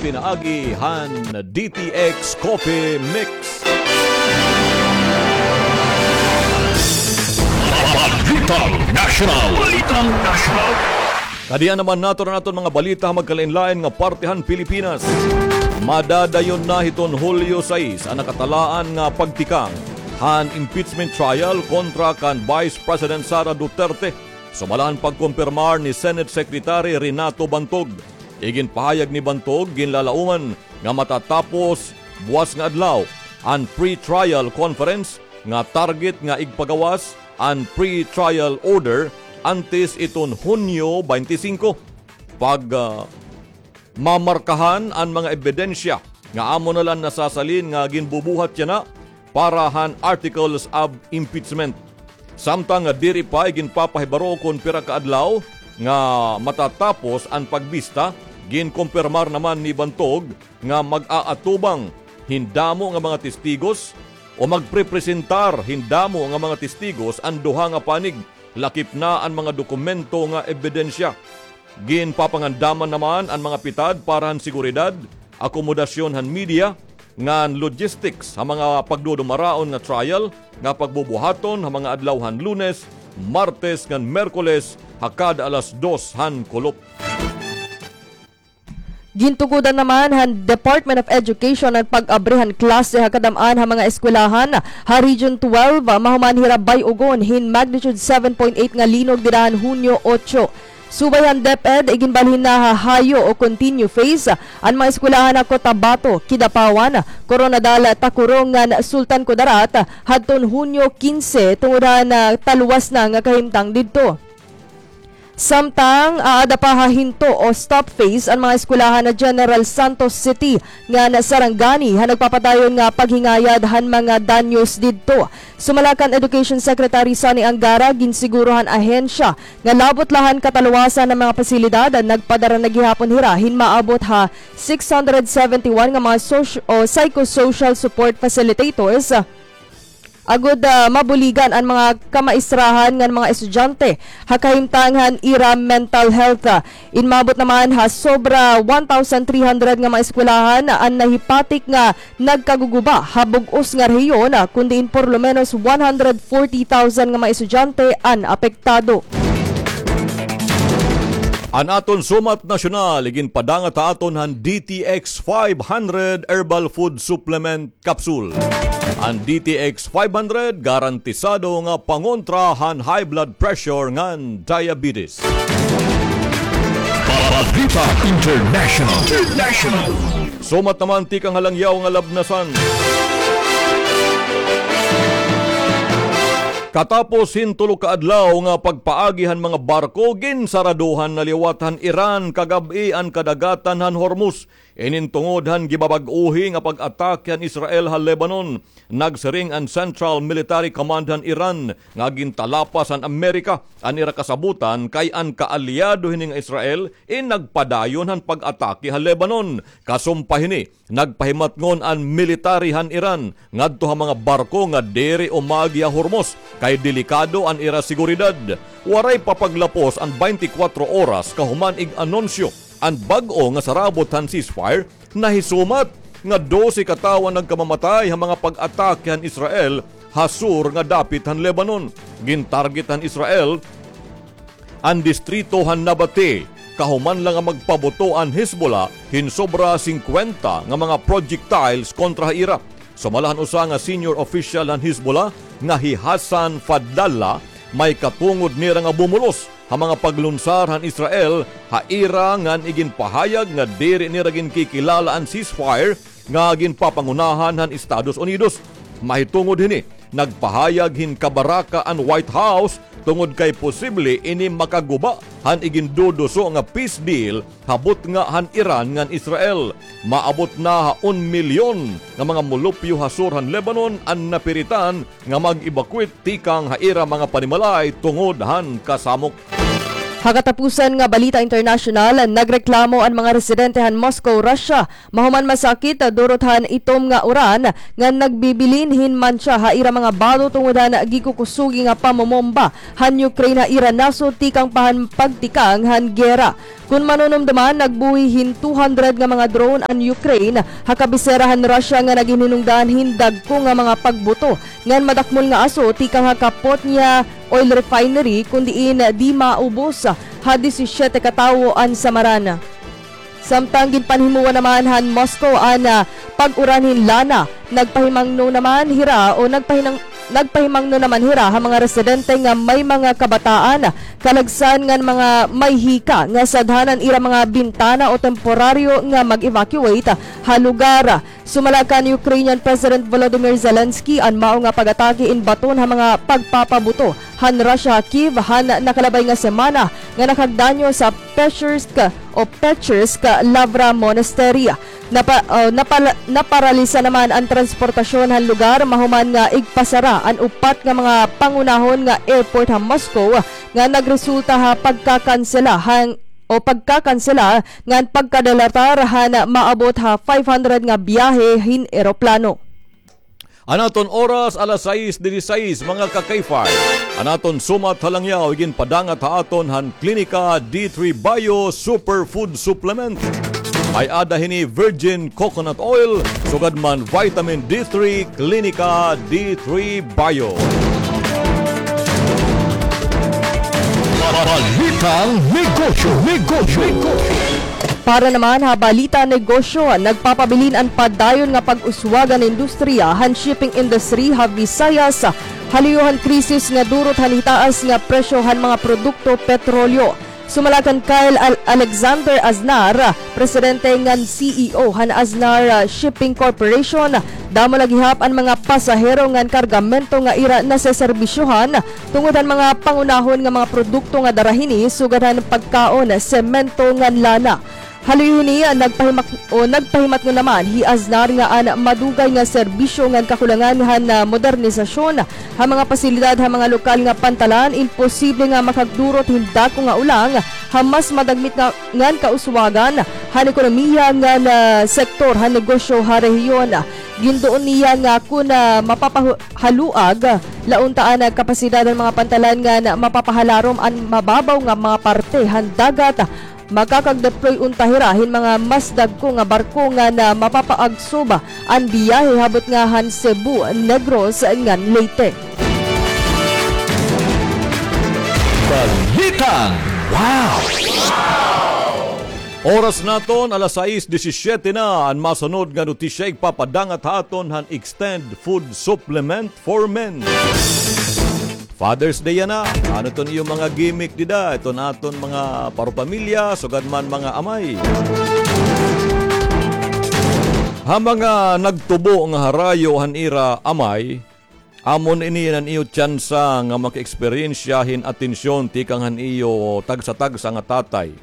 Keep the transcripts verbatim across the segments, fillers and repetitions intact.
Pinaagi han D T X Coffee Mix. Balitang National. Balitang National. Kadian naman naton an aton mga balita ha magkalainlain nga parte han Pilipinas. Madadayon na hiton Hulyo sais an nakatalaan nga pagtikang han impeachment trial kontra kan Vice President Sara Duterte. Sumala han pagkumpirmar ni Senate Secretary Renato Bantog, iginpahayag ni Bantog, ginlalauman nga matatapos buwas nga adlaw an pre-trial conference nga target nga igpagawas an pre-trial order antes iton Hunyo twenty-five. Pag, ah, mamarkahan an mga ebidensya nga amo na la an nasasalin nga ginbubuhat yana para han articles of impeachment. Samtang nga diri pa iginpapahibaro kon pira ka adlaw nga matatapos an pagbista, ginkumpirmar naman ni Bantog nga mag-aatubang hin damo nga mga testigos o magprepresentar hin damo nga mga testigos an duha nga panig, lakip na an mga dokumento nga ebidensya. Ginpapangandaman naman an mga pitad para han seguridad, akomodasyon han media, ngan logistics ha mga pagdudumaraon nga trial nga pagbubuhaton ha mga adlaw han Lunes, Martes, ngan Miyerkules ha kada alas dos han kulop. Gintugodan naman han Department of Education an pag-abri han klase ha kadam-an ha mga eskwelahan ha Region twelve, mahuman hira bay-ugon hin magnitude seven point eight nga linog dida han Hunyo otso. Subay han DepEd, iginbalhin na ha hayo o continue phase an mga eskwelahan ha Cotabato, Kidapawan, Koronadal, Tacurong ngan Sultan Kudarat hadton Hunyo kinse tungod han, ah, taluwas na nga kahimtang didto. Samtang aada pa ha hinto o stop phase an mga eskwelahan ha General Santos City ngan Sarangani ha nagpapadayon nga paghingayad han mga danyos didto. Sumala kan Education Secretary Sonny Angara, ginsiguro han ahensya nga labot la han kataluwasan han mga pasilidad, nagpadara na gihapon hira hin maabot ha six hundred seventy-one nga mga soci-, o psychosocial support facilitators, agod, ah, mabuligan an mga kamaestrahan ngan mga estudyante ha kahimtang han ira mental health. Inmaabot naman ha sobra one thousand three hundred nga mga eskwelahan an nahipatik nga nagkaguguba ha bug-os nga rehiyon, kundi in por lo menos one hundred forty thousand nga mga estudyante an apektado. An aton sumat nasyonal, iginpadangat ha aton han D T X five hundred Herbal Food Supplement Capsule. An D T X five hundred garantisado nga pangontra han high blood pressure ngan diabetes. Balita International. International. Sumat naman tikang ha langyaw nga labnasan. Katapos hin tulo ka adlaw nga pagpaagi han mga barko, ginsaraduhan na liwat han Iran kagab-i an kadagatan han Hormuz. Inin tungod han gibabag-ohi nga pag-atake han Israel ha Lebanon. Nagsiring an Central Military Command han Iran nga gintalapas han Amerika an ira kasabotan kay an kaalyado hini nga Israel in nagpadayon han pag-atake ha Lebanon. Kasumpa hini, nagpahimatngon an military han Iran ngadto ha mga barko nga diri umagi ha Hormuz kay delikado an ira seguridad. Waray pa paglapos an twenty-four oras kahuman ig-anunsyo an bag-o nga sarabot han ceasefire, nahisumat nga dose ka tawo an nagkamamatay ha mga pag-atake han Israel ha sur nga dapit han Lebanon. Gintarget han Israel an distrito han Nabati kahuman la nga magpabuto an Hezbollah hin sobra singkwenta nga mga projectiles kontra ha ira. Sumala han usa nga senior official han Hezbollah nga hi Hassan Fadlallah, may katungod nira nga bumulos ha mga paglunsar han Israel ha ira ngan iginpahayag nga diri nira ginkikilala an ceasefire nga ginpapangunahan han Estados Unidos. Mahitungod hini, nagpahayag hin kabaraka an White House tungod kay posible ini makaguba han iginduduso nga peace deal ha butnga han Iran ngan Israel. Maabot na ha un milyon nga mga molupyo ha sur han Lebanon an napiritan nga mag-evacuate tikang ha ira mga panimalay tungod han kasamok. Ha katapusan nga balita internasyonal, nagreklamo an mga residente han Moscow, Russia, mahuman masakit durot han itom nga uran nga nagbibilin hin mantsa ha ira mga bado tungod han gikukusugi nga pamomomba han Ukraine ha ira nasod tikang pa han pagtikang han gera. Kon manunumdoman, nagbuhi hin two hundred nga mga drone an Ukraine ha kabisera han Russia nga naghinhinungdan hin dagko nga mga pagbuto ngan madakmol nga aso tikang ha Kapotnya oil refinery, kon diin di maubos ha disisyete ka tawo an samaran. Samtang ginpanhimuwa naman han Moscow an, ah, pag-uran hin lana, nagpahimangno naman hira o nagpahinang-, nagpahimangno naman hira ha mga residente nga may mga kabataan, kalagsan ngan mga may hika nga sadhan an ira mga bintana o temporaryo nga mag-evacuate ha lugar. Sumala kan Ukrainian President Volodymyr Zelensky, an mao nga pag-atake in baton ha mga pagpapabuto han Russia ha Kyiv han nakalabay nga semana nga nakagdanyo sa Pechersk o Pechersk Lavra Monastery. Napa-, o, napala-, naparalisa naman an transportasyon han lugar mahuman nga igpasara an upat nga mga pangunahon nga airport ha Moscow nga nagresulta ha pagkakansela han, o pagkakansela ngan pagkadalatar han maabot ha five hundred nga biyahe hin eroplano. An aton oras, alas sais dieciséis, mga ka-K five. An aton sumat ha langyaw, iginpadangat ha aton han Klinika D three Bio Superfood Supplement. May-ada hini virgin coconut oil, sugad man vitamin D three, Klinika D three Bio. Balitang negosyo, negosyo, negosyo. Para naman ha balita negosyo, nagpapabilin an padayon nga pag-uswag an industriya han shipping industry ha Visayas, ha luyo han krisis nga durot han hitaas nga presyo han mga produkto petrolyo. Sumala kan Kyle Al-, Alexander Aznar, presidente ngan C E O han Aznar, ah, Shipping Corporation, damo la gihap an mga pasahero ngan kargamento nga ira naseserbisyohan tungod han mga pangunahon nga mga produkto nga dara hini, sugad han pagkaon, semento ngan lana. Ha luyo hini, nagpahimak-, o nagpahimatngon naman hi Aznar nga an madugay nga serbisyo ngan kakulangan han, ah, modernisasyon ha mga pasilidad ha mga lokal nga pantalan, imposible nga makagdurot hin dako nga ulang ha mas madagmit nga, ngan kauswagan han ekonomiya ngan, ah, sektor han negosyo ha rehiyon. Ginduon niya nga kon, ah, mapapahaluag la unta an kapasidad han mga pantalan ngan mapapahalarom an mababaw nga mga parte han dagat, makakag-deploy unta hira hin mga mas dagko nga barko ngan mapapaagsob an biyahe habot nga han Cebu, Negros ngan Leyte. Balitang Wow! Oras naton, alas sais disisyete na. An masunod nga notisya igpapadangat ha aton han Extend Food Supplement for Men. Father's Day yana. Ano iton iyo mga gimmick dida? Iton aton mga paropamilya, sugad man mga amay. Ha mga nagtubo nga harayo han ira amay, amo ini an iyo tsansa nga maka-eksperyensya hin atensyon tikang han iyo tagsa-tagsa nga tatay.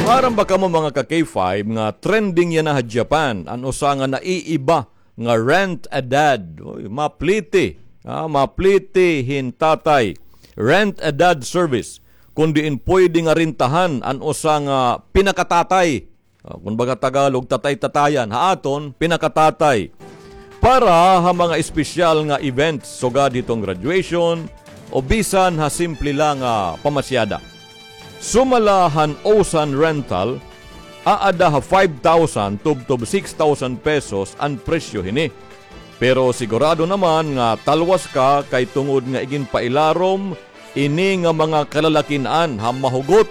Maaram ba kamo, mga ka-K five, nga trending yana ha Japan an usa nga naiiba nga Rent a Dad. Oy, mapliti. Ah, mapliti hin tatay. Rent a Dad service. Kon diin pwede nga rentahan an usa nga pinakatatay. Ah, kon baga Tagalog, tatay-tatayan. Ha aton, pinakatatay. Para ha mga espesyal nga events, sugad hiton graduation, o bisan ha simple la nga pamasyada. Sumala han Osan Rental, aada ha five thousand tubtob six thousand pesos an presyo hini. Pero sigurado naman nga talwas ka kay tungod nga iginpailarom ini nga mga kalalakin-an ha mahugot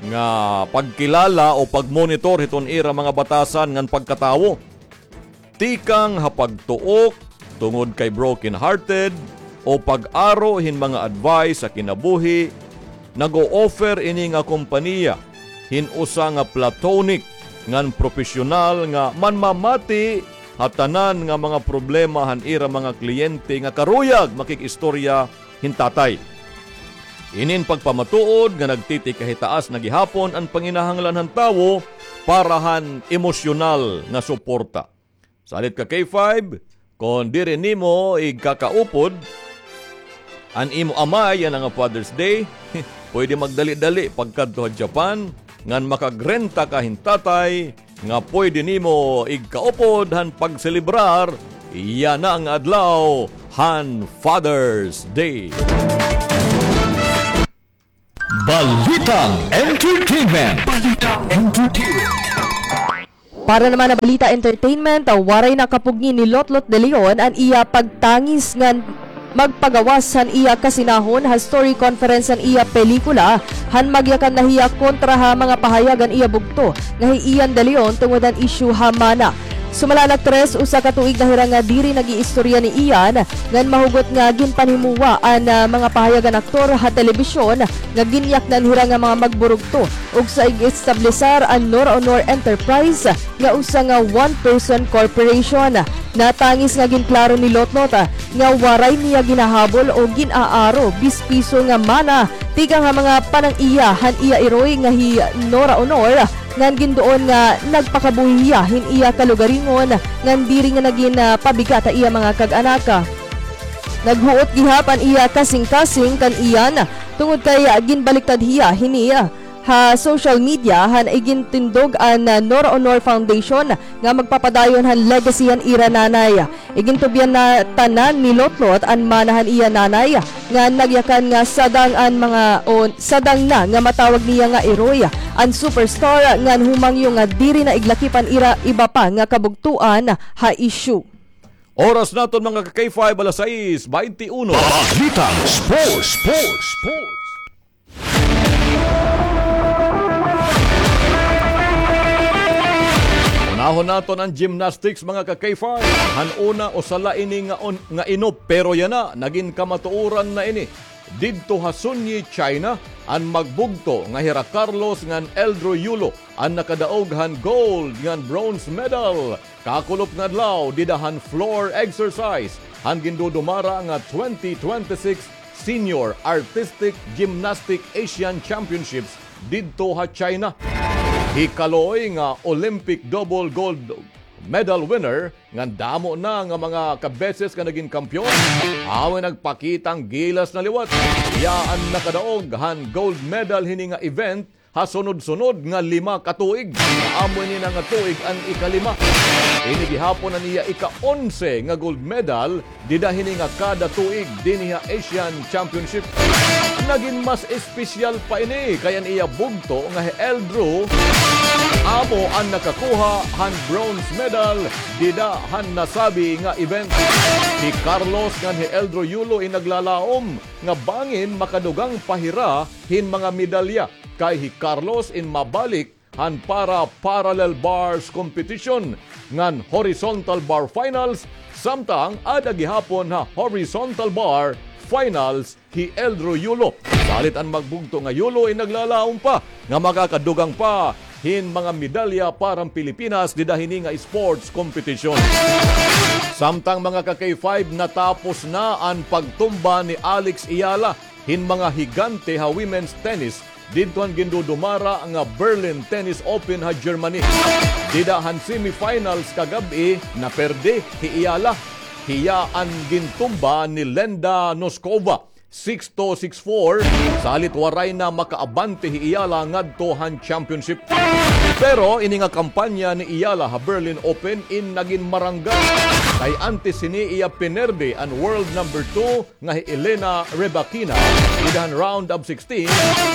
nga pagkilala o pagmonitor hiton ira mga batasan ngan pagkatawo. Tikang ha pagtuok tungod kay broken-hearted o pag-aro hin mga advice sa kinabuhi, nag-o-offer ini nga kompanya hin usa nga platonic ngan propesyonal nga manmamati ha tanan nga mga problema han ira mga kliyente nga karuyag makig-istorya hin tatay. Inin pagpamatuod nga nagtitikahitaas na gihapon an panginahanglan han tawo para han emosyonal nga suporta. Salit ka K five, kon diri nimo igkakaupod, An imo amay yana nga Father's Day, pwede magdali-dali pagkadto ha Japan, ngan makagrenta ka hin tatay, nga pwede nimo igkaupod han pagselebrar yana nga adlaw han Father's Day. Balitang Entertainment. Balitang Entertainment. Para naman ha balita entertainment, waray nakapugngi ni Lotlot de Leon an iya pagtangis ngan magpagawas han iya kasinahon ha story conference han iya pelikula, han magyakan na hiya kontra ha mga pahayag han iya bugto nga hi Ian de Leon tungod han isyu ha mana. Sumala han aktres, usa ka tuig na hira nga diri nag-iistorya ni Ian, ngan mahugot nga ginpanhimuwa an, ah, mga pahayag han aktor ha telebisyon nga ginyaknan hira nga mga magburugto, ug sa ig-establesar an Nora Honor Enterprise nga usa nga one-person corporation. Natangis nga ginklaro ni Lotlot, ah, nga waray niya ginahabol o gin-aaro bis piso nga mana tikang ha mga panang-iya han iya iroy nga hi Nora Honor, ngan ginduon nga nagpakabuhi hiya hin iya kalugaringon ngan diri nga nagin, ah, pabigat ha iya mga kag-anak. Naghuot gihap an iya kasingkasing kan Ian tungod kay, ah, ginbaliktad hiya hini, ah, ha social media han igintindog an, ah, Nora Honor Foundation nga magpapadayon han legacy han ira nanay. Igintubyan na tanan ni Lotlot an mana han iya nanay nga nagyakan nga sadang an mga o sadang na nga matawag niya nga iroy an superstar ngan humangyo nga diri na iglakip an ira iba pa nga kabugtoan ha isyu. Oras naton, mga ka-K five, alas sais baynte uno. Balitang Sports, Sports, Sports. Unahon naton an gymnastics, mga ka-K five. Han una, usa la ini nga on-, nga inop, pero yana, nagin kamatuoran na ini. Didto ha Sunyi, China, an magbugto nga hira Carlos ngan Eldro Yulo an nakadaog han gold ngan bronze medal. Kakulop nga adlaw, dida han floor exercise han gindudumara nga twenty twenty-six Senior Artistic Gymnastic Asian Championships didto ha China. Hi Kaloy nga Olympic double gold medal winner ngan damo na nga mga kabeses nga nagin kampeon, amoy nagpakita han gilas na liwat. Hiya an nakadaog han gold medal hini nga event ha sunod-sunod nga lima ka tuig. Amo ini na nga tuig an ikalima. Ini gihapon an iya ika-onse nga gold medal dida hini nga kada tuig dinhi ha Asian Championship. Nagin mas espesyal pa ini kay an iya bugto nga hi Eldro amo an nakakuha han bronze medal dida han nasabi nga event. Hi Carlos ngan hi Eldro Yulo in naglalaom nga bangin makadugang pa hira hin mga medalya. Kay hi Carlos in mabalik han para parallel bars competition ngan horizontal bar finals, samtang ada gihapon ha horizontal bar finals hi Eldro Yulo. Salit an magbugto nga Yulo in naglalaom pa nga makakadugang pa hin mga medalya para han Pilipinas dida hini nga sports competition. Samtang, mga ka-K five, natapos na an pagtumba ni Alex Eala hin mga higante ha women's tennis didto han gindudumara nga Berlin Tennis Open ha Germany. Dida han semifinals kagab-i, naperde hi Eala. Hiya an gintumba ni Lenda Noskova, six two, six four, salit waray na makaabante hi Eala ngadto han championship. Pero ini nga kampanya ni Eala ha Berlin Open in nagin marangga. Kay antes hini iya pinerde an world number two nga hi Elena Rybakina dida han round of sixteen,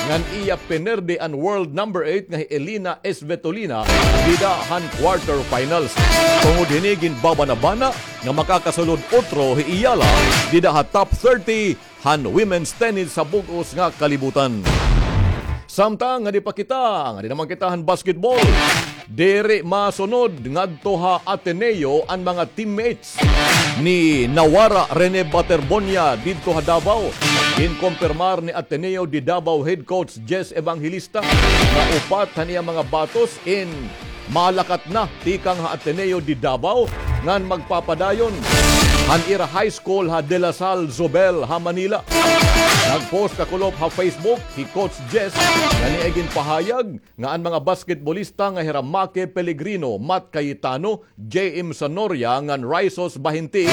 ngan iya pinerde an world number eight nga hi Elina Svitolina dida han quarterfinals. Tungod hini, ginbabanabana nga makakasulod utro hi Eala dida ha top thirty han women's tennis sa bug-os nga kalibutan. Samtang ngadi pa kita, ngadi naman kita han basketball. Diri masunod ngadto ha Ateneo an mga teammates ni nawara Rene Baterbonia didto ha Davao. Ginkompirmar ni Ateneo de Davao head coach Jess Evangelista nga upat han iya mga batos in malakat na tikang ha Ateneo de Davao ngan magpapadayon han ira high school ha De La Salle Zobel ha Manila. Nag-post kakulop ha Facebook hi Coach Jess ngan iya ginpahayag nga an mga basketbolista nga hira Make Pellegrino, Matt Cayetano, J M Sanoria ngan Raisos Bahinti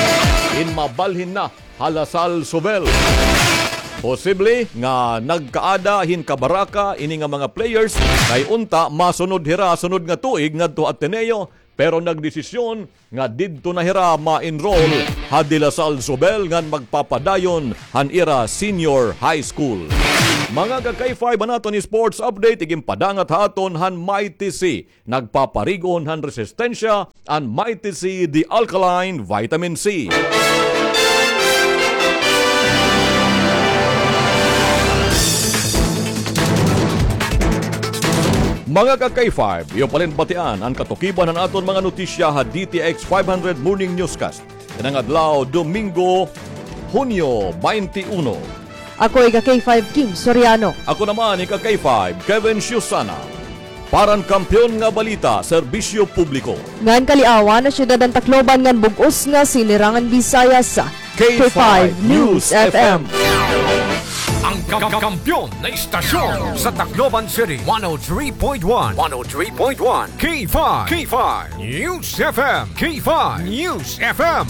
in mabalhin na ha La Salle Zobel. Posible nga nagkaada hin kabaraka ini nga mga players kay unta masunod hira sunod nga tuig ngadto ha Ateneo, pero nagdesisyon nga didto na hira ma-enroll ha De La Salle Zobel ngan magpapadayon han ira senior high school. Mga ka-K five, an aton sports update iginpadangat ha aton han Mighty C. Nagpaparig-on han resistensya an Mighty C, the alkaline vitamin C. Mga ka-K five, iyo palinbatian an katukiban han aton mga notisya ha D T X five hundred Morning Newscast. Kanang adlaw, Domingo, Hunyo twenty-one. Ako ika-K five, Kim Soriano. Ako naman ika-K five, Kevin Siusana. Para han kampiyon nga balita, serbisyo publiko. Ngan kaliawan ha syudad han Tacloban ngan bug-os nga sinirangan Visayas. K five News F M. Ang ka-, kampiyon na istasyon sa Tacloban City, one oh three point one. One oh three point one. K five. K five News F M. K five News F M.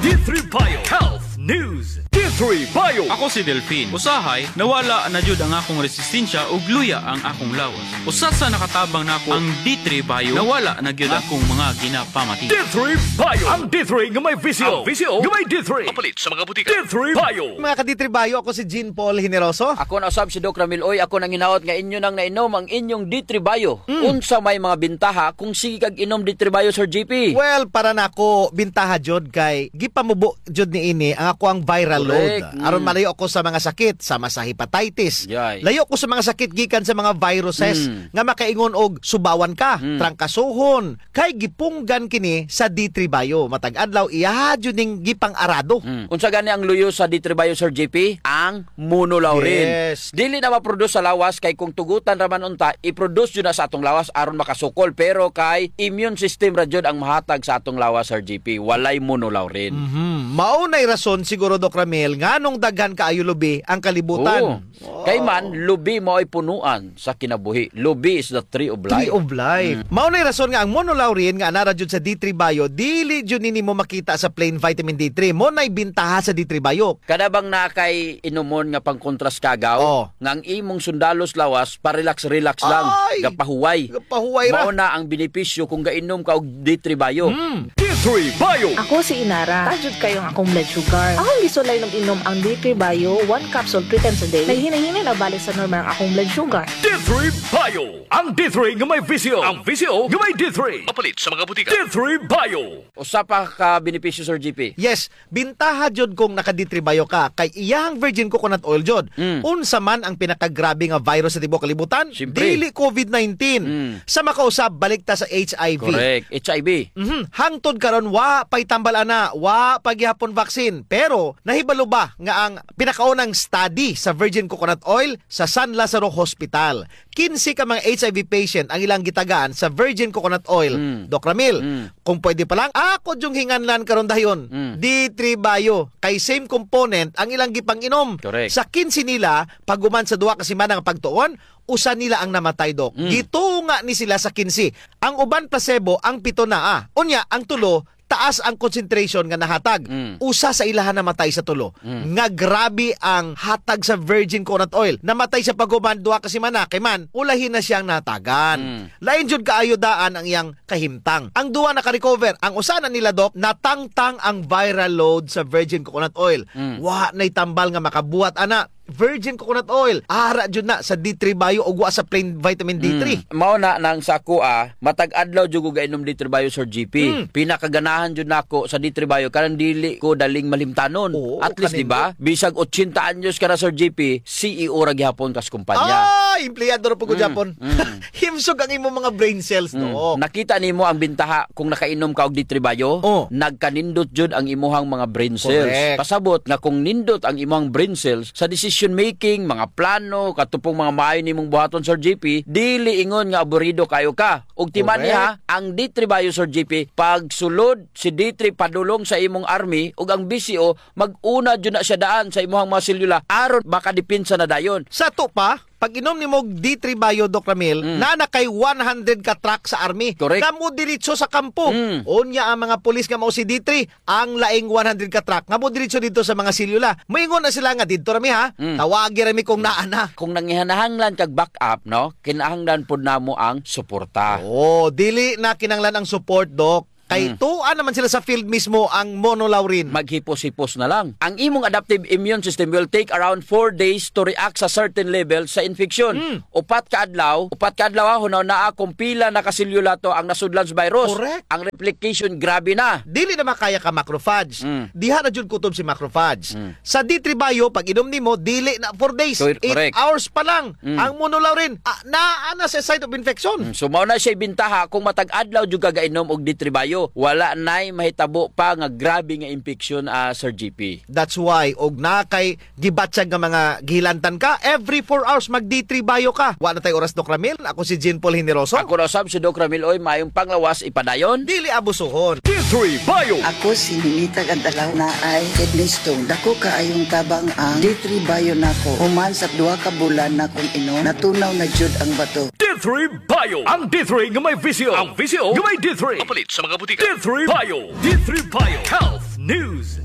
D three Bio Health News. D three Bio. Ako si Delfin. Usahay, nawala na jud ang akong resistensya ug luya ang akong lawas. Usa sa nakatabang nako ang D three Bio, nawala na gyud akong mga ginapamati. D three Bio. Ang D three nga may visyo. Ang visyo nga may D three. Mapalit sa mga butika. D three Bio. Mga ka-D three Bio, ako si Jean Paul Generoso. Ako na usab si Doc Ramil Uy. Ako nanghinaot nga inyo nang nainom ang inyong D three Bio. Mm. Unsa may mga bintaha kung sige kag inom D three Bio, Sir G P? Well, para nako, bintaha jud kay gipamubo jud niini ang ako ang viral load. Correct. Mm. Aron malayo ako sa mga sakit, sama sa hepatitis. Yay. Layo ko sa mga sakit gikan sa mga viruses Mm. nga makaingon og subawan ka, Mm. trangkasohon, kay gipunggan kini sa D three Bio. Matag adlaw, iya jud ning gipang-arado. Mm. Unsa gani ang luyo sa D three Bio, Sir G P? Ang monolaurin. Yes. Dili na ma-produce sa lawas kay kung tugutan ra man unta, i-produce jud na sa atong lawas aron makasukol. Pero kay immune system ra jud ang mahatag sa atong lawas, Sir G P. Walay monolaurin. Mhm. Mao nay rason siguro, Doc Ramil, nganong daghan kaayo lubi ang kalibutan. Oo. Wow. Kay man, lubi maoy punoan sa kinabuhi. Lubi is the tree of life. Tree of life. Mm. Mao nay rason nga ang monolaurin nga anaa ra jud sa D three Bio, dili jud nini mo makita sa plain vitamin D three. Mao nay bintaha sa D three Bio. Kada bang naa kay inumon nga pangkontras kagaw, Oh. nga ang imong sundalos lawas, pa-relax-relax lang, Ay! gapahuway. Gapahuway ra. Mao na ang benepisyo kung gainom ka og D three Bio. Mm. D three Bio. Ako si Inara. Taas jud kaayo ang akong blood sugar. Akong gisulay inom-inom ang D three Bio, one capsule three times a day. Naghinay-hinay na balik sa normal ang akong blood sugar. D three Bio. Ang D three nga may visyo. Ang visyo nga may D three. Mapalit sa mga butika. D three Bio. Usa pa ka benepisyo, Sir G P. Yes, bintaha jud kung naka-D three Bio ka, kay iyahang virgin coconut oil jud. Mm. Unsa man ang pinakagrabe nga virus sa tibuok kalibutan? Siyempre. Dili covid nineteen. Mm. Sa makausab, balik ta sa H I V. Correct. H I V. Mhm. Hangtod karon, wa pa'y tambal ana, wa pa gihapon vaccine. Pero, nahibalo ba nga ang pinakaunang study sa virgin coconut oil sa San Lazaro Hospital? Kinse ka mga H I V patient ang ilang gitagaan sa virgin coconut oil, Mm. Doc Ramil. Mm. Kung pwede pa lang, ako jung hinganlan karon dayon, Mm. D three Bio, kay same component ang ilang gipang-inom. Correct. Sa kinse nila, paghuman sa duha ka semana nga pagtuon, usa nila ang namatay, Doc. Mm. Gitunga ni sila sa kinse. Ang uban placebo, ang pito naa. Unya, ang tulo, taas ang concentration nga nahatag. Mm. Usa sa ilaha namatay sa tulo. Mm. Nga grabe ang hatag sa virgin coconut oil. Namatay siya paghuman duha ka semana, kay man, ulahi na siyang nahatagan. Mm. Lain jud kaayo daan ang iyang kahimtang. Ang duha naka-recover. Ang usa na nila, Doc, natangtang ang viral load sa virgin coconut oil. Mm. Wa na'y tambal nga makabuhat ana. Virgin coconut oil. Ara jud na sa D three Bio ug wa sa plain vitamin D three. Mm. Mao na nang sa akoa, matag adlaw jud ko gainom D three Bio, Sir G P. Mm. Pinakaganahan jud nako sa D three Bio, kanang dili ko daling malimtanon. Oo, at least, di ba? Kanindot. Bisag otsenta anyos ka na, Sir G P, C E O ra gihapon kas kumpanya. Ay, empleyado ra pud ko gihapon. Mm. Himsog ang imong mga brain cells, no? Mm. Nakita nimo ang bintaha kung nakainom ka og D three Bio? Oh. Nagkanindot jud ang imuhang mga brain cells. Correct. Pasabot nga kung nindot ang imuhang brain cells sa decision making, mga plano, katupong mga maayo nimong buhaton, Sir G P, dili ingon nga aburido kayo ka. Ug timan-i ha, correct, ang D three Bio, Sir G P, pagsulod si D three padulong sa imong army ug ang B C O, mag-una jud na siya daan sa imuhang mga selula aron makadepensa na dayon. Sa ato pa, pag-inom nimo og D three Bio, Doc Ramil, Mm. naa na kay one hundred ka truck sa army. Correct. Nga modiretso sa kampo. Mm. Unya ang mga pulis nga mao si D three, ang laing one hundred ka truck nga modiretso didto sa mga selyula. Moingon na sila nga, "Didto ra mi, ha? Mm. Tawagi ra mi kung naa na." Kung nangihanahanglan kag backup, no? Kinahanglan pod namo ang suporta. Oo, dili na kinahanglan ang support, Doc. Kay Mm. tua naman sila sa field mismo ang monolaurin. Maghipos-hipos na lang. Ang imong adaptive immune system will take around four days to react sa certain level sa infection. Mm. Upat ka adlaw, upat ka adlaw, ha, hunaw naa kung pila na ka selyula to ang nasudlan sa virus. Correct. Ang replication, grabe na. Dili na makaya ka macrophage. Mm. Diha na jud kutob si macrophage. Mm. Sa D three Bio, pag inom nimo, dili na four days. Cor-, correct. Eight hours pa lang. Mm. Ang monolaurin, ah, naa na sa site of infection. Mm, so, mao na siya bintaha kung matag adlaw jud ka gainom og D three Bio. Wala nay mahitabo pa nga grabe nga impeksyon, ah, Sir G P. That's why, og na kay gibatyag nga mga gihilantan ka, every four hours mag D three Bio ka. Wa na tay oras, Doc Ramil. Ako si Jean Paul Generoso. Ako na usab si Doc Ramil. Oy, maayong panglawas, ipadayon. Dili abusuhon. D three Bio. Ako si Ninita Gantalaw, naay kidney stone. Dako kaayong tabang ang D three Bio nako. Human sa duha ka bulan nakong inom, natunaw na jud ang bato. D three Bio. Ang D three nga may visyo. Ang visyo nga may D three. Mapalit sa mga butika. D three Bio. D three Bio. Health News.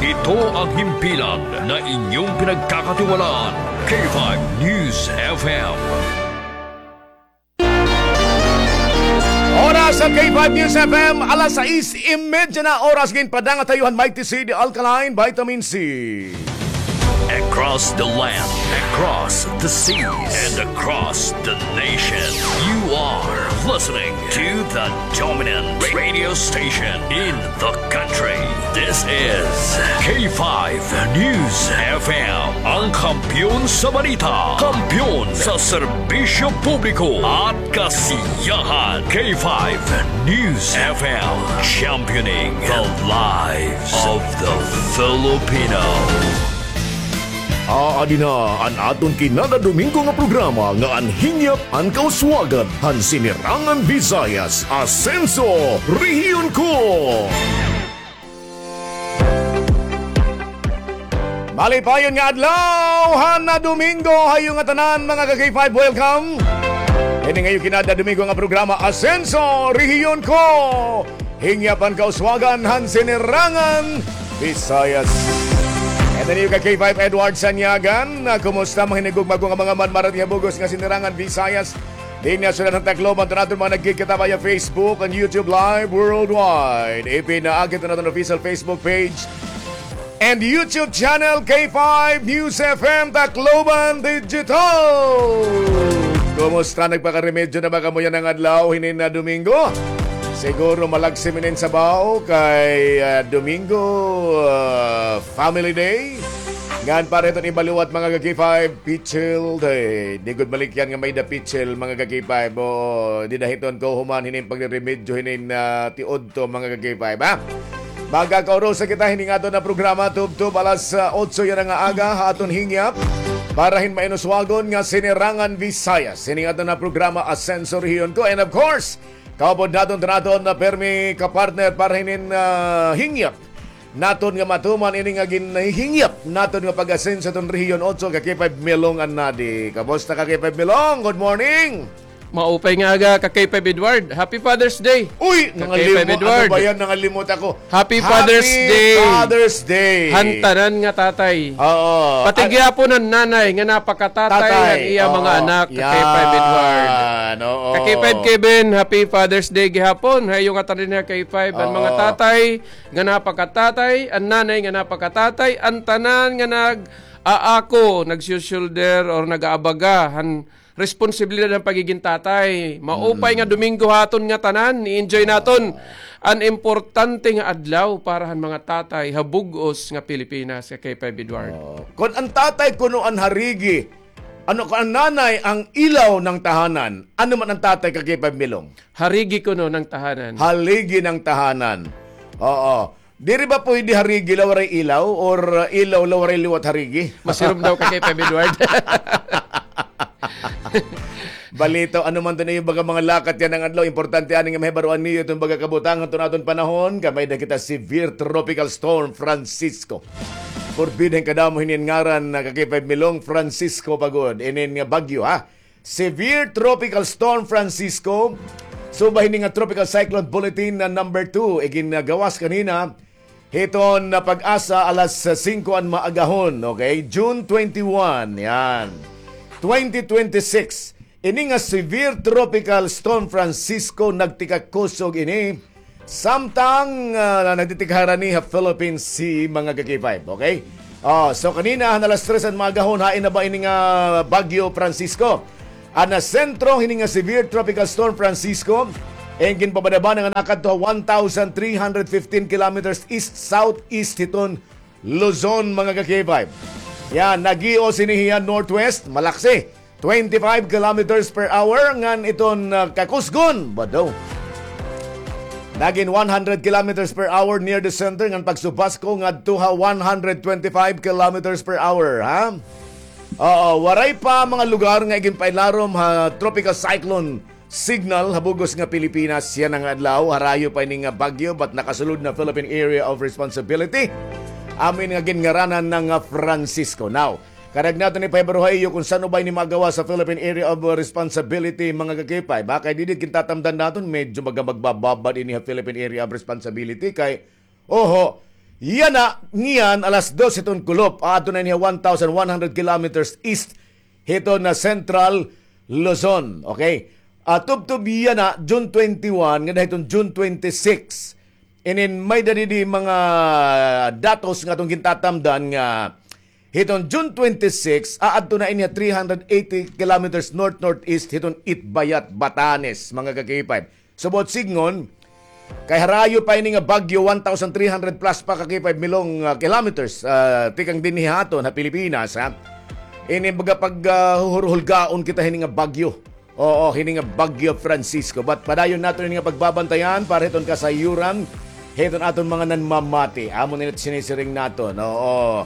Ito ang himpilan na inyong pinagkakatiwalaan. K five News F M. Oras sa K five News F M, alas sais y medya na oras. Ginpadanga tayo han Mighty C, the alkaline vitamin C. Across the land, across the seas, and across the nation, you are listening to the dominant radio station in the country. This is K five News F M, ang kampiyon sa balita, kampiyon sa serbisyo publiko at kasiyahan. K five News F M, championing the lives of the Filipino. Aadi na an aton kinada Domingo nga programa nga an Hingyap an Kauswagan han Sinirangan Visayas, Asenso, Rehiyon Ko. Malipayon nga adlaw han Domingo ha iyo ngatanan, mga ka-K five. Welcome. Ini nga iyo kinada Domingo nga programa, Asenso, Rehiyon Ko. Hingyap an Kauswagan han Sinirangan Visayas. Ito niyo ka-K five, Edward Sanyagan. Ah, kumusta, mga hinigugma ko nga mga man-, marating ha bug-os nga Sinirangan Visayas? Dinhi ha syudad han Tacloban, an aton mga nagkikita via Facebook and YouTube Live worldwide. Ipinaagi an aton official Facebook page and YouTube channel, K five News F M Tacloban Digital. Kumusta, nagpakaremedyo na ba kamo yana nga adlaw, hinin nga Domingo? Siguro malagsim inin sabaw kay, ah, Domingo, ah, Family Day. Ngan para hiton iba liwat, mga ka-K five, pitsil day. Di gud malikyan nga may-ada pitsil, mga ka-K five. O, dida hiton kahuman hinin pagreremedyo hinin, ah, tiudto, mga ka-K five, ha? Magkakaurusa kita hinin aton nga programa tubtob alas, ah, otso yana nga aga ha aton hingyap para hin mainuswagon nga Sinirangan Visayas. Hinin aton nga programa, Asenso Rehiyon Ko. And of course, kaupod naton, naton nga permi ka-partner para hinin, ah, hingyap naton nga matuman ini nga ginhihingyap naton nga pag-asenso hiton Rehiyon Otso, ka-K five Milong Annadi. Kamusta, ka-K five Milong? Good morning. Maupay nga aga, ka-K five Edward. Happy Father's Day. Uy, ka-K five nangalimot. Edward. Ano ba yan? Nangalimot ako. Happy Father's Day. Happy Father's Day. Han tanan nga tatay. Oo. Pati gihapon han nanay nga napakatatay han iya mga anak, ka-K five Edward. Yan, oo. Ka-K five Kevin, happy Father's Day gihapon. Ha iyo ngatanan, ka-K five, an mga tatay nga napakatatay, an nanay nga napakatatay, an tanan nga nag-aako, nagsusulder or nag-aabaga han responsibilidad han pagigin tatay. Maupay nga Domingo ha aton ngatanan, i-enjoy naton an importante nga adlaw para han mga tatay ha bug-os nga Pilipinas, ka-K five Edward. Oo. Kon an tatay kuno an harigi, ano, kon an nanay ang ilaw ng tahanan, ano man an tatay, ka-K five Milong? Harigi kuno ng tahanan. Haligi ng tahanan. Oo. Diri ba pwede harigi la waray ilaw or, uh, ilaw la waray liwat harigi? Masirom daw, ka-K five Edward. Balitaw, ano man to niyo baga mga lakat yana nga adlaw, importante ani nga mahibaroan niyo iton baga kabutang hito nga aton panahon, kay may-ada kita severe tropical storm Francisco. Forbid hin kadamo hinin ngaran na ka K five Milong, Francisco pa gud. Inin nga bagyo, ha? Severe Tropical Storm Francisco. Subay hini nga Tropical Cyclone Bulletin na number two, igingawas kanina hiton na PAGASA alas singko an maagahon, okay? June twenty-one, yan. Twenty twenty-six. Ini nga Severe Tropical Storm Francisco nagtikakusog ini samtang, ah, nagtitikharani ha Philippine Sea, mga ka-K five, okay? Oh, so kanina, han alas tres an maagahon, hain na ba ini nga Bagyo Francisco? An nasentro hini nga Severe Tropical Storm Francisco, an ginpabanabanan nga nakadto ha one thousand three hundred fifteen kilometers east-southeast hiton Luzon, mga ka-K five. Yan, nag-ios ini hiya northwest, malaksi. Twenty-five kilometers per hour ngan iton, ah, kakusgon, bado. Nagin one hundred kilometers per hour near the center ngan pagsubas ko ngadto ha one hundred twenty-five kilometers per hour, ha? Oo, waray pa mga lugar nga iginpailarom ha tropical cyclone signal ha bug-os nga Pilipinas yana nga adlaw. Harayo pa ini nga bagyo, but nakasulod na Philippine Area of Responsibility. Amo ini nga ginngaranan na nga Francisco. Now, karuyag naton ipahibaruha ha iyo kon san-o ba ini magawas sa Philippine Area of Responsibility, mga ka-K five. Kay didi gintatamdan naton, medyo maga-, magbababad ini ha Philippine Area of Responsibility kay, oho, yana, ngiyan, alas dos hiton kulop, aadto na ini ha one thousand one hundred kilometers east hiton Central Luzon. Okay? Ah, tubtob yana, June twenty-one, ngada hiton June twenty-six. Inin may-ada didi mga datos nga aton gintatamdan nga hiton June twenty-six, aadto na ini ha three hundred eighty kilometers north-northeast hiton Itbayat, Batanes, mga ka-K five. Subot sidngon, kay harayo pa ini nga bagyo, one thousand three hundred plus pa ka-K five Milong, ah, kilometers, ah, tikang dinhi ha aton ha Pilipinas, ha. Ini baga pag, ah, huhurhulgaon kita hini nga bagyo. Oo, hini nga Bagyo Francisco. But padayon naton ini nga pagbabantayan para hiton kasayuran hiton aton mga nanmamati. Amo na it sinisiring naton. Oo.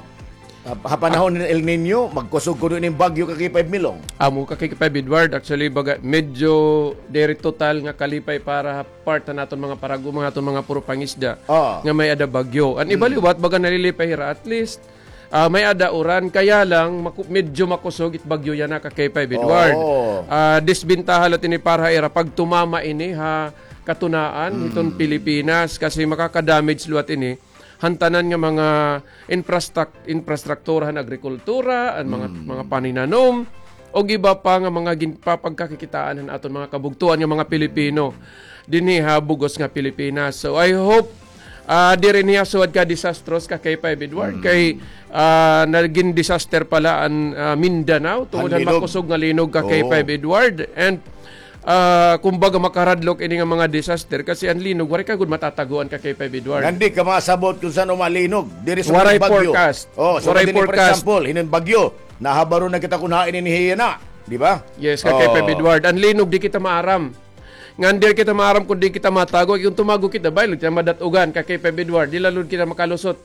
Ha, ha panahon hin El Niño, magkusog kuno ini bagyo ka K five Milong. Amo ka K five Edward, actually, baga, medyo diri total nga kalipay para ha part han aton mga parago, mga aton mga puro pangisda Oo. nga may-ada bagyo. An iba Mm. liwat, baga nalilipay hira, at least, ah, may-ada uran, kaya lang, maku-, medyo makusog it bagyo yana ka K five Edward. Oo. Ah, disbentaha la ini para ha ira pag tumama ini ha katunaan Mm. hiton Pilipinas kasi makaka-damage liwat ini han tanan nga mga infrastruc-, infrastruktura han agrikultura, an mga, Mm. mga paninanom, ug iba pa nga mga ginpapagkakikitaan han aton mga kabugtoan nga mga Pilipino dinhi ha bug-os nga Pilipinas. So, I hope, ah, diri niya suwad ka disastrous ka K five Edward, Mm. kay, ah, nagin disaster pala an, ah, Mindanao tungod An han linog. makusog nga linog ka Oo. K five Edward. And, ah, kumbaga, makaradlok ini nga mga disaster kasi an linog, waray ka gud matataguan ka K five Edward. Ngan di ka masabot kon san-o malinog. Diri sa Waray mga bagyo. forecast. Oh, so Waray dinhi, for forecast. example, hining bagyo, nahabaro na kita kon hain ini hiya na, di ba? Yes, ka K five Oh. Edward. An linog, di kita maaram. Ngan diri kita maaram kon di kita matago. Kon tumago kita, bay, kita madat-ugan ka K five Edward. Di la gud kita makalusot.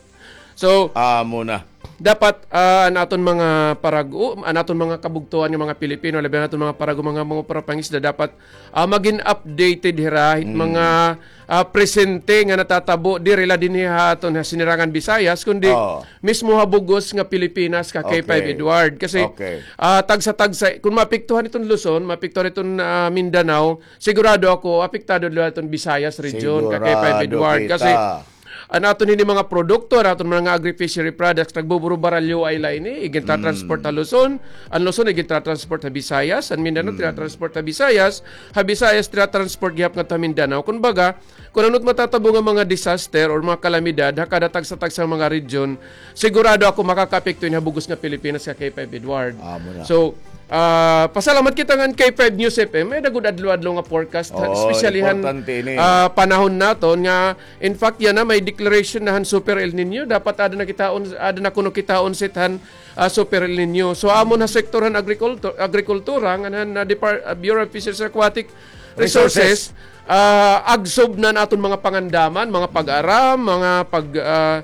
So, Amo na. dapat, ah, an aton mga parago, an aton mga kabugtoan nga mga Pilipino, labi na aton mga parago, mga, mga parapangisda, dapat, ah, magin updated hira hit Mm. mga, ah, presente nga natatabo, diri la dinhi ha aton ha Sinirangan Visayas, kundi Oo. mismo ha bug-os nga Pilipinas ka K five Okay. Edward. Kasi, Okay. ah, tagsa-tagsa, kon maapektuhan iton Luzon, maapektuhan iton, ah, Mindanao, sigurado ako, apektado la iton Visayas region ka K five Sigurado Edward. Kasi, kita. an aton hini mga produkto, an aton mga agri-fishery products, nagbuburubaralyo ay la ini, igintatransport Mm. ha Luzon, an Luzon igintatransport ha Visayas, an Mindanao Mm. tinatransport ha Visayas, ha Visayas tinatransport gihap ngadto ha Mindanao. Kumbaga, kon ano it matatabo nga mga disaster or mga kalamidad, ha kada tagsa-tagsa nga mga region, sigurado ako makakaapekto ini ha bug-os nga Pilipinas ka K five Edward. Amo na. So, ah, pasalamat kita ngan K five News F M, may-ada gud adlaw-adlaw nga forecast, Oo, especially han, importante ini. ah, panahon naton nga, in fact, yana may declaration na han Super El Niño, dapat ada na kitaon, ada na kuno kitaon sit han, ah, Super El Niño. So, amon ha sektor han agrikultu-, agrikultura, ngan han, ah, Depar-, ah, Bureau of Fisheries and Aquatic Resources, Resources. ah, agsob na an aton mga pangandaman, mga pag-aram, mga pag-, ah,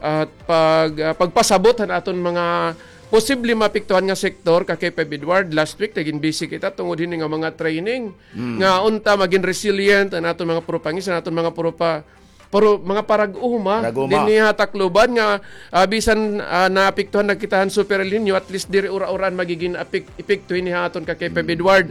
ah, pag-, ah, pagpasabot han aton mga, posible maapektuhan nga sektor ka K five Edward. Last week, nagin busy kita tungod hini nga mga training nga unta magin resilient an aton mga propangis, an aton mga propa-, pero mga parag-uma. Parag-uma. Dinhi ha Tacloban nga, ah, bisan, ah, naapektuhan na kita han Super El Nino, at least diri ura-uraan magigin apek-, epekto hini ha aton ka K five Edward.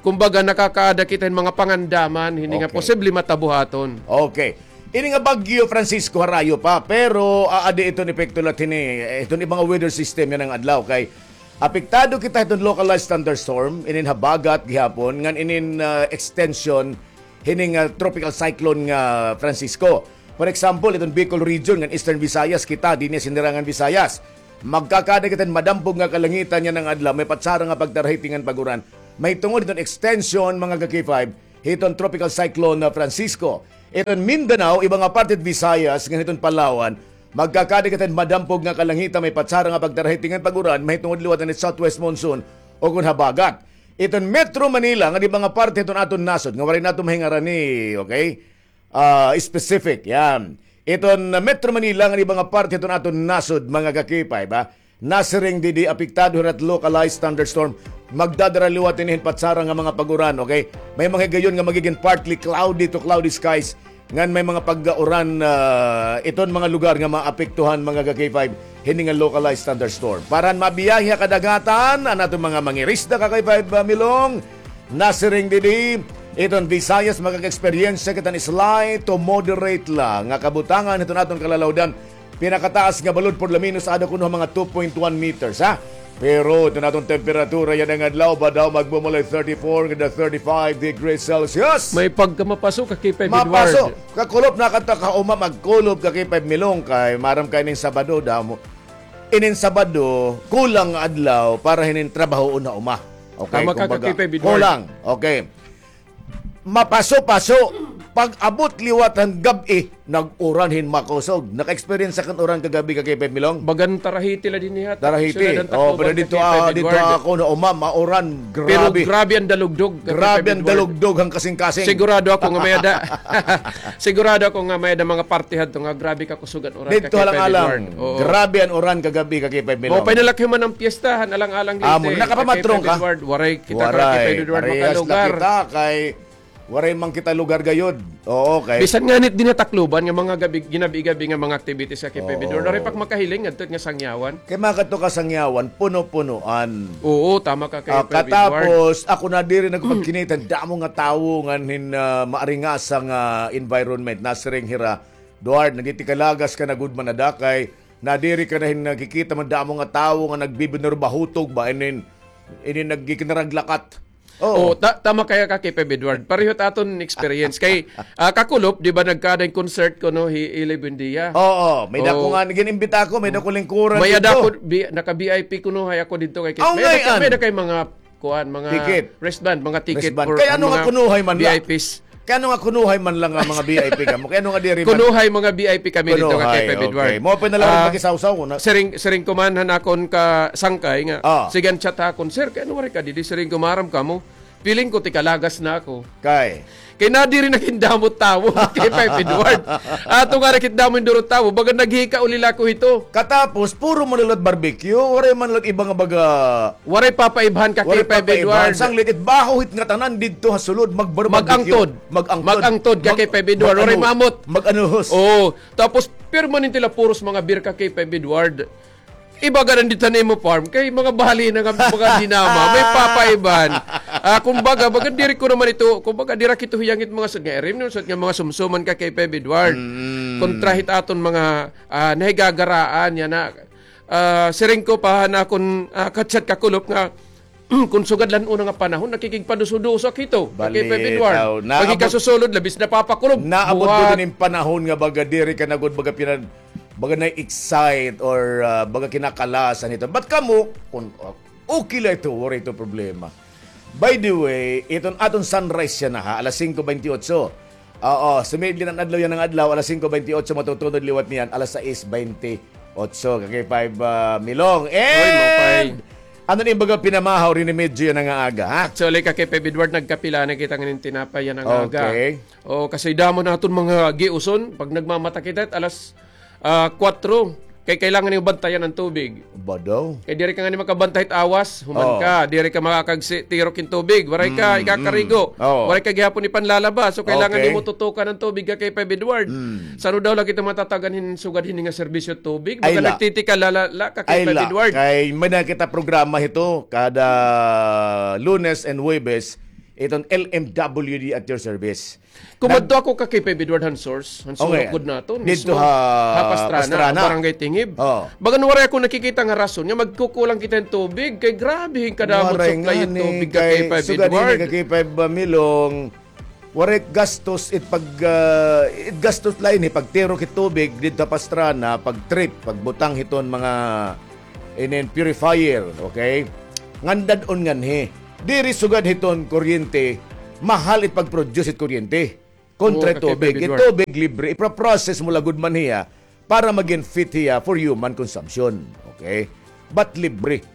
Kumbaga, nakakaada kita hin mga pangandaman hini nga posible matabo ha aton. Okay. Ini nga Bagyo Francisco harayo pa, pero aadi iton epekto la hini, eh, iton ibang weather system yana nga adlaw kay apektado kita hiton localized thunderstorm inin habagat gihapon ngan inin, ah, extension hining, ah, tropical cyclone nga Francisco. For example, iton Bicol region ngan Eastern Visayas kita dinhi ha Sinirangan Visayas. Magkakaada kita hin madampog nga kalangitan yana nga adlaw, may patsara nga pagtarahiting ngan pag-uran. Mahitungod hiton extension, mga ka-K five, hiton Tropical Cyclone na Francisco. Iton Mindanao, iba nga parte hit Visayas, ngan hiton Palawan, magkakaada kita hin madampog nga kalangitan, may patsara nga pagtarahiting ngan pag-uran, mahitungod liwat hit southwest monsoon, o kon habagat. Iton Metro Manila, ngan iba nga parte hiton aton nasod, nga waray naton mahingarani, okay? Ah, specific, yan. Iton Metro Manila, ngan iba nga parte hiton aton nasod, mga ka-K five, ha? Nasiring didi apektado hira hit localized thunderstorm. Magdadara liwat ini hin patsara nga mga pag-uran, okay? May mga higayon nga magigin partly cloudy to cloudy skies, ngan may mga pag-uran, ah, iton mga lugar nga maapektuhan, mga ka-K five, hini nga localized thunderstorm. Para han mabiyahe ha kadagatan, an aton mga mangirisda, ka-K five, ah, Milong, nasiring didi, iton Visayas, makaka-eksperyensya kita hin slight to moderate la nga kabutangan hiton aton kalalawdan. Pinakataas nga balod por lo menos ada kuno ha mga two point one meters, ha? Pero iton aton temperatura yana nga adlaw, badaw magmumulay thirty-four ngada thirty-five degrees Celsius. May pagkamapaso, ka-K five Edward. Mapaso. Kakulop na kanta ka uma, magkulop, ka-K five Milong, kay maaram ka inin Sabado, damo. Inin Sabado, kulang nga adlaw para hinin trabahoon ha uma. Okay, tama ka, kumbaga, ka-K five Edward. Kulang. Okay. Mapaso-paso. Pag-abot liwat han gab-i, nag-uran hin makusog. Naka-experience ka hin uran kagab-i, ka-K five Milong? Bagan tarahiti la dinhi ha. Tarahiti. Syudad han Tacloban, pero didto, ka-K five Edward. Didto ako na uma, mauran. Grabe. Pero grabe an dalugdog, ka-K five Edward. Grabe an dalugdog han kasingkasing. Sigurado ako nga may-ada. Sigurado ako nga may-ada mga parte hadto nga grabe ka kusog an uran, ka-K five Edward. Didto ha Alang-alang. Oo. Grabe an uran kagab-i, ka-K five Milong. Maupay na la kay man an piyesta han Alang-alang didi, ka-K five Edward. Amo, nakapamatrong ka? Waray kita, ka-K five Edward, makalugar. Waray, parehas la kita kay waray man kita lugar gayod. Oo, kay bisan ngani dinhi ha Tacloban nga mga gabi, ginabi-gabi nga mga activities, ka-K five Edward. Oo. Waray pa ak makahiling ngadto nga sangyawan. Kay mga kadto ka sangyawan, puno-punuan. Oo, tama ka, ka-K five Edward. Ah, katapos, ako nadiri na pagkinita, damo nga tawo ngan hin, ah, maaringasa nga environment, nasiring hira. Duard, nagtitikalagas ka na gud man ada kay nadiri ka na hin nakikita man damo nga tawo nga nagbibinurbahutog ba, inin, inin nagkikinaraglakat. Oo. Oh, ta-, tama kaya ka, ka-K five Edward. Pareho it aton experience. Kay, ah, kakulop, di ba, nagkaada hin concert kuno hi Eli Buendia. Oo, may-ada ko nga, gin-imbita ko, may-ada ko lingkuran didto. May-ada ko, bi-, naka-V I P kuno hay ako didto kay Kit. May-ada kay mga kuan, mga wristband, mga ticket for mga V I Ps. Kay ano nga kunuhay man la nga mga V I P kamo? Kay ano nga diri man? Kunuhay mga V I P kami didto, ka-K five Edward. Kunuhay, okay. Maupay na la nga pakisawsaw na. Siring, siring ko man han akon kasangkay nga, sige, an chat ha akon, "Sir, kay ano waray ka didi?" Siring ko, "Maaram kamo, feeling ko tikalagas na ako." Kay? Kay nadiri na gindamo it tawo, ka-K five Edward. Ato nga nakindamo hin duro it tawo, baga naghikauli la ako hito. Katapos, puro man la it barbecue, waray man la it iba nga baga Waray papaibhan, ka-K five Edward. Sanglit it baho hit ngatanan didto ha sulod, magbarbecue. Mag-angtod. Mag-angtod. Mag-angtod, ka-K five Edward. Waray maamot. Mag-anuhos. Oo. Tapos, permanente la puros mga beer, ka-K five Edward. Iba gad an didto han imo farm, kay mga bahalina nga mga dinama, may papaibhan. Ah, kumbaga, baga diri ko naman ito, kumbaga, dira kito hiyangit mga sa-, nga iri, no, sa-, nga mga sumsuman, ka-K five Edward. Kontra hit aton mga, ah, nahigagaraan, yana. Ah, siring ko pa han akon, ah, ka-chat kakulop nga, kon sugad la han una nga panahon, nakikigpaduso-duso ak hito, ka-K five Edward. Pagkikasusulod, labis napapakulob. Naabot gud ini nga panahon nga baga diri ka na gud baga pina-, baga na-excite or, ah, baga kinakalasan hito. But kamo, kon, ah, okay la ito, waray ito problema. By the way, iton aton sunrise yana ha, alas singko bente otso. Oo, sumiid la an adlaw yana nga adlaw, alas singko bente otso, matutunod liwat niyan, alas sais bente otso, ka-K five, ah, Milong. And ano na it im baga pinamahaw hini medyo yana nga aga, ha? Actually, ka-K five Edward, nagkape la na kita ngan hin tinapay yana nga aga. Okay. O, kasi damo naton mga giuson, pag nagmamata kita, alas, ah, kuwatro. Kay kailangan nimo bantayan an tubig. Ba daw? Kay diri ka ngani makabantay hit awas, human Oo. ka, diri ka makakagsi-, tirok hin tubig, waray ka Mm, ikakarigo, mm. Oo. waray ka gihapon ipanlalaba, so kailangan Okay. nimo tutukan an tubig ka K five Edward. Mm. San-o daw la kita matatagan hin sugad hini nga serbisyo tubig? Ay, Baga la. nagtitikala la, la ka Ay, K five la. Edward. Kay may na kita programa hito kada Lunes and Huwebes, iton L M W D at your service. Kumadto ako ka K five Edward han source, han Okay. surok gud naton, Didto mismo ha ha Pastrana, Pastrana. Barangay Tingib. Oo. Bagan waray ako nakikita nga rason nga magkukulang kita hin tubig, kay grabe hin kadamo Waray supply hin ngani, tubig ka kay K five sugad hini Edward. ka K five Milong, waray gastos it pag, ah, it gastos la ini, pagtirok hit tubig didto ha Pastrana, pag-trip, pagbutang hiton mga inin purifier, okay? Ngan dad-on nganhi. Diri sugad hiton kuryente, mahal it pag-produce it kuryente. Kontra Oo, tubig. It kakipipidwar. tubig libre, ipra-process mo la gud man hiya para magin fit hiya for human consumption. Okay? But libre.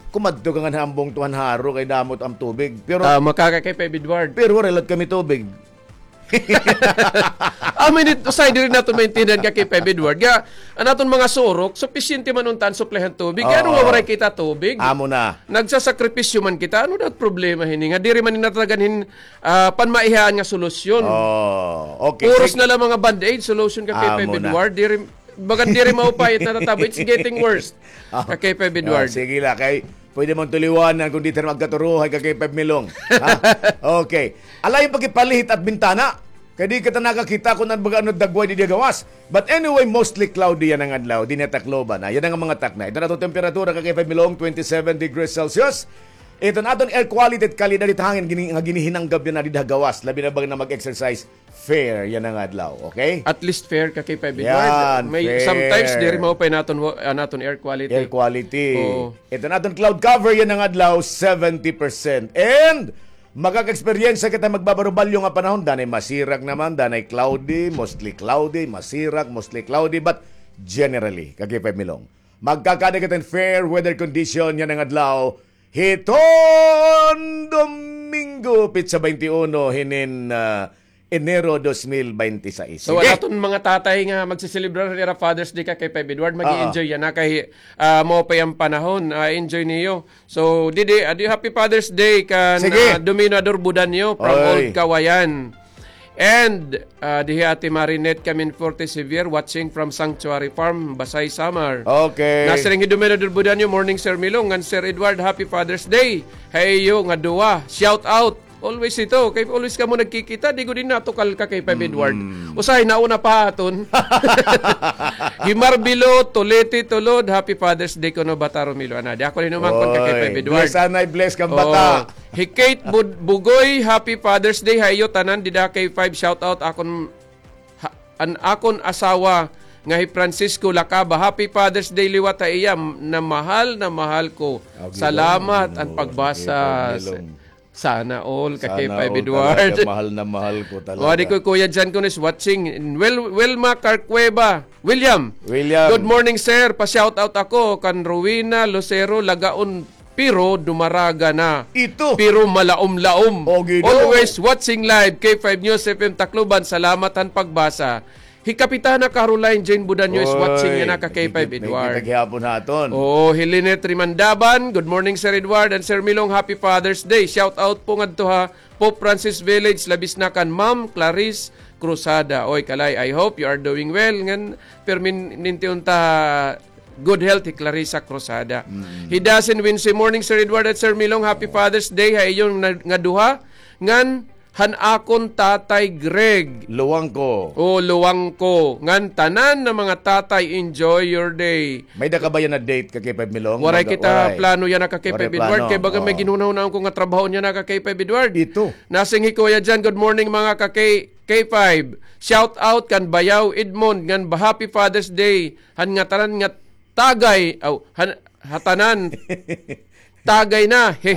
Kumadto ka ngan ha ambong tuhan haro kay damo it am tubig. Pero Tama ka, kakipipidwar. pero waray la kami tubig. Amin it, usahay diri naton maintindihan ka K five Edward. Nga, an aton mga surok, supisyente man unta an supply han tubig. Kay ano nga Oo. waray kita tubig? Amo na. Nagsasakripisyo man kita. Ano daw problema hini? Nga diri man natatagan hin, ah, panmaihaan nga solusyon. Oh, okay. Puros Sige. na lang mga band-aid solution ka K five Amo na. Edward. Diri, bagan diri maupay it natatabo. It's getting worse. Ah, Ka K five ah, Edward. sige la, kay pwede man tuliwanan kung di tayo magkaturuhay ka K five Milong. Ha? Okay. Alay yung pagkipalihit at bintana. Kay di kita nakakita kung ano baga ano dagway di gawas. But anyway, mostly cloudy yana nga adlaw. Di na Tacloban, ha? Yana nga mga takna. Ito na itong temperatura ka K five Milong, twenty-seven degrees Celsius. Ito na aton air quality at kalidad it hangin gini, nga ginihinanggab yana di gawas. Labi na baga na mag-exercise. Fair yana nga adlaw, okay? At least fair ka K five Edward. Yan, May fair. sometimes diri maupay naton wa-, ah, naton air quality. Air quality. Oo. Ito naton cloud cover yana nga adlaw, seventy percent. And makaka-eksperyensya kita magbabarubalyo nga panahon, danay masirak naman, danay cloudy, mostly cloudy, masirak, mostly cloudy, but generally, ka K five Milong. Magkakada kita hin fair weather condition yana nga adlaw, hiton Domingo, pitsa twenty-one, hinin, ah, Enero dos mil binte y seis. So, Sige. an aton mga tatay nga magsiselebrar han ira Father's Day ka K five Edward, mag-i-enjoy yana kay, ah, maupay an panahon, ah, enjoy niyo. So, didi, adi, happy Father's Day kan, Sige. ah, Dominador Budanyo from Oy. Old Kawayan. And, ah, dihi Ate Marinette Caminforte Sevier, watching from Sanctuary Farm, Basay, Samar. Okay. Nasiring hi Dominador Budanyo, "Morning, Sir Milong, ngan Sir Edward, happy Father's Day ha iyo nga duha. Shout out." Always ito. Kay always kamo nagkikita, di gud natukal ka kay Five Edward. Mm. Usahay nauna pa aton. Himarbilo, Tolete, Tulod, happy Father's Day kuno, Bata Romilo. Ana, di ako rin umangkon ka kay Five Edward. Bless, anay, bless kang bata. Hi Kate Bud-, Bugoy, happy Father's Day ha iyo tanan dida kay Five. Shout out akon ha-, an akon asawa nga hi Francisco Lacaba. Happy Father's Day liwat ha iya, na mahal na mahal ko. Salamat an pagbasa. Sana all, ka K five Edward. Mahal na mahal ko talaga. O, adi ko, Kuya John Kuno is watching. Wel-, Welma Carcueva. William. William. Good morning, sir. Pa-shout out ako kan Rowena Lucero Lagaon, pero dumaraga na. Ito. Pero malaom-laom. O, Ginoo. Always watching live, K five News F M Tacloban. Salamat han pagbasa. Hi Kapitana Caroline Jane Budanyo is watching yana ka K five Edward. Kita gihapon ha aton. Oo, hi Lynette Rimandaban, "Good morning, Sir Edward and Sir Milong. Happy Father's Day. Shout out po ngadto ha Pope Francis Village, labis na kan Ma'am Clarice Cruzada." Oy, Kalay, I hope you are doing well. Ngan, permin-, ninti unta good health hi Clarissa Cruzada. Mm. Hi Dasin Wincy, "Morning, Sir Edward at Sir Milong. Happy Father's Day ha iyo na-, nga duha. Ngan, han akon Tatay Greg." Luwang ko. O, luwang ko. Ngan tanan na mga tatay, enjoy your day. May da ka ba yana date ka K five Milong? Waray kita plano yana ka K five Edward. Kay baga may ginhunahunahon ko nga trabaho yana ka K five Edward. Ito. Nasiring hi Kuya Jan, "Good morning, mga ka K-, K five. Shout out kan Bayaw Edmond, ngan ba-, happy Father's Day. Han ngatanan nga tagay, aw, han, ha tanan." Tagay na. He,